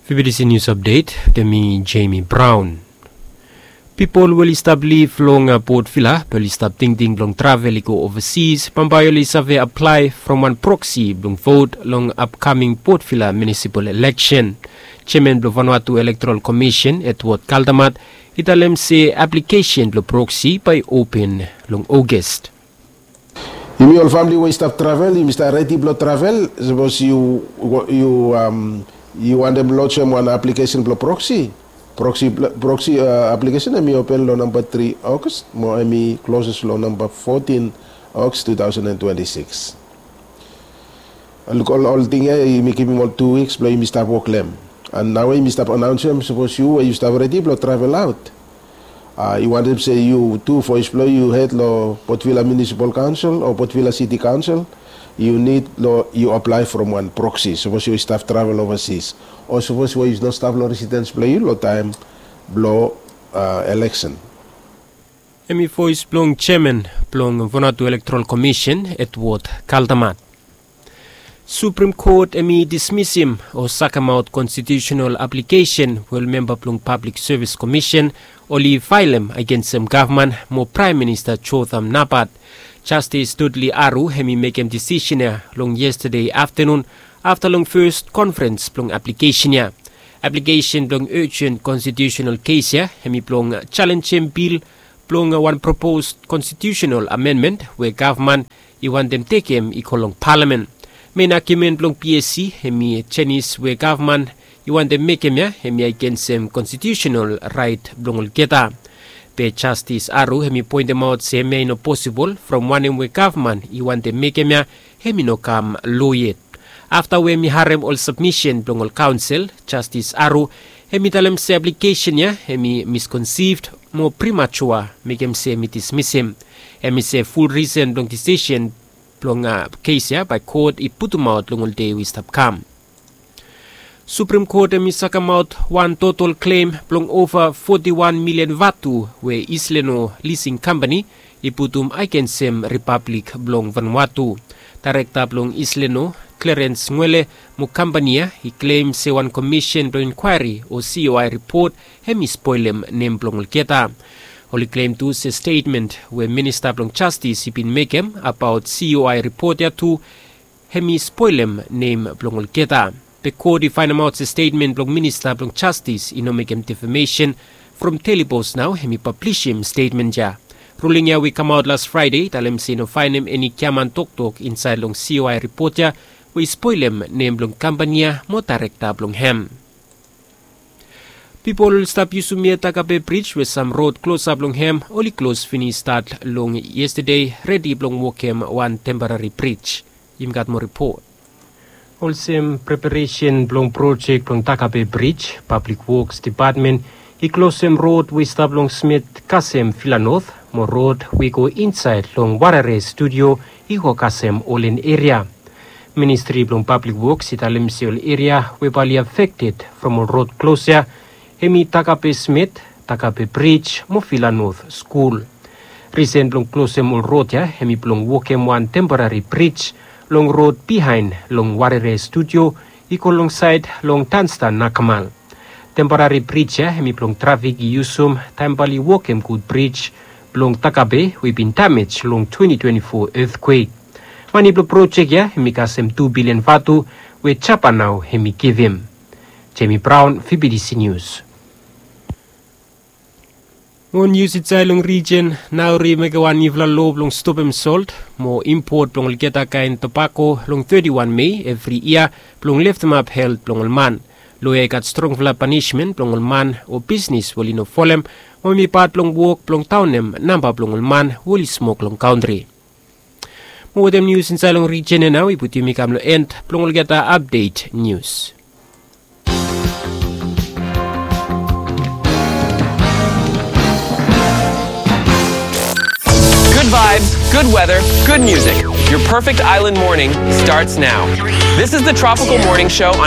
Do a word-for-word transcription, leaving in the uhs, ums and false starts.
Bibidisi nius apdet, mi Jamie Brown. Pipol we oli stap liv long Port Vila be oli stap tingting blong travel i go ovasis bambae oli save aplae from wan proksi blong vot long apkaming Port Vila munisipal ileksen. Jeaman blong Vanuatu Elektoral Komisen, Edward Kaldamat, i talem se aplikesen blong proksi bae i open long Ogas. Yumi ol famili we i stap travel, yumi stap redi blong travel. Sapos yu yu wantem lojim wan aplikesen blong proksi, proksi aplikesen hemi open long namba tri Ogas mo hemi kloses long namba fotin Ogas tu taosen en twenti sikis. Luk, ol ting ya yumi givim ol tu wiks blong yumi stap wok long hem. An naoia yumi stap anaonsem sapos yu we yu stap redi blong travel aot, yu wantem se yu tu voes blong yu hed long Port Vila Munisipal Kaonsel o Port Vila Siti Kaonsel, yu nid long yu aplae from wan proksi sapos yu stap travel ovasis o sapos we yu no stap long residens blong yu long taem blong ileksen. Hemi voes blong jeaman blong Vanuatu Elektoral Komisen, Edward Kaldamat. Suprem Kot hemi dismisim o sakemaot konstitiusenal aplikesen we ol memba blong Pablik Sevis Komisen oli faelem agensem gavman mo Praem Minista Jotham Napat. Jastis Dudley Aru hemi mekem disisen ya long yestade aftanun afta long fes konferens blong aplikesen ya. Aplikesen blong ejen konstitiusenal kes ya hemi blong jalenjem bil blong wan propos konstitiusenal amenmen we gavman i wantem tekem i go long palamen. Men agiumen blong PSC hemi jenis we gavman i wantem mekem ya hemi agensem konstitiusenal raet blong olgeta. Be Jastis Aru hemi poentemaot se hemia i no posibol from wanem we gavman i wantem mekem ya hemi no kam lo yet. Afta we hemi harem ol sabmisen blong ol kaonsel, Jastis Aru hemi talem se aplikesen ya hemi miskonsivd mo primatua, mekem se hemi dismisim. Hemi se ful risen blong disisen blong kes ya bae kot i putumaot long ol dei we i stap kam. Suprem Kot hemi sakemaot wan total klem blong ova foti wan milian vatu we Isleno Lising Kampani i putum agensem Ripablik blong Vanuatu. Daerekta blong Isleno, Clarence Ngwele, mo kampani ya i klem se wan komisen blong inkwaeri o COI ripot hemi spolem nem blong olgeta. Oli klem tu se stetmen we Minista blong Jastis i bin mekem abaot COI ripot ya tu hemi spolem nem blong olgeta. Be kot i faenemaot se stetmen blong Minista blong Jastis i no mekem defamesen. From Daily Post nao hemi pablisim stetmen ya. Ruling ya we i kamaot las Fraede i talem se i no faenem eni giaman toktok insaed long COI ripot ya we i spolem nem blong kampani ya mo daerekta blong hem. Pipol oli stap yusum yet Takape Brij we sam rod klosap long hem oli klos finis stat long yestade, redi blong wokem wan temporari brij. Yumi gat moa ripot. Olsem preparesen blong projek blong Takape Brij, Pablik Woks Depatmen i klosem rod we i stap long Smit kasem Vila Not mo rod we i go insaed long Warere Studio i go kasem Olen eria. Ministri blong Pablik Woks i talem se ol eria we bae oli afekted from ol rod klos ya hemi Takape Smit, Takape Brij mo Vila Not Skul. Risen blong klosem ol rod ya hemi blong wokem wan temporari brij long rod biaen long Warere Studio i go longsaed long Tansta Nakamal. Temporari brij ya hemi blong trafik i yusum taem bae oli wokem gud brij blong Takape we i bin damej long twenti twenti fo etkwek. Mane blong projek ya hemi kasem tu bilian vatu we Japan nao hemi givim. Jamie Brown, VBTC Nius. Mo nius insaed long rijen. Nauru i mekem wan niufala loa blong stopem solt mo impot blong olgeta kaen tobako long teti wan Mei evri yia blong leftemap helt blong ol man. Loa ya i gat strongfala panismen blong ol man o bisnes we oli no folem mo hemi pat blong wok blong daonem namba blong ol man we oli smok long kantri. Mo wetem nius insaed long rijen ya nao i putum yumi kam long en blong olgeta apdet nius. Good vibes, good weather, good music. Your perfect island morning starts now. This is the Tropical Morning Show on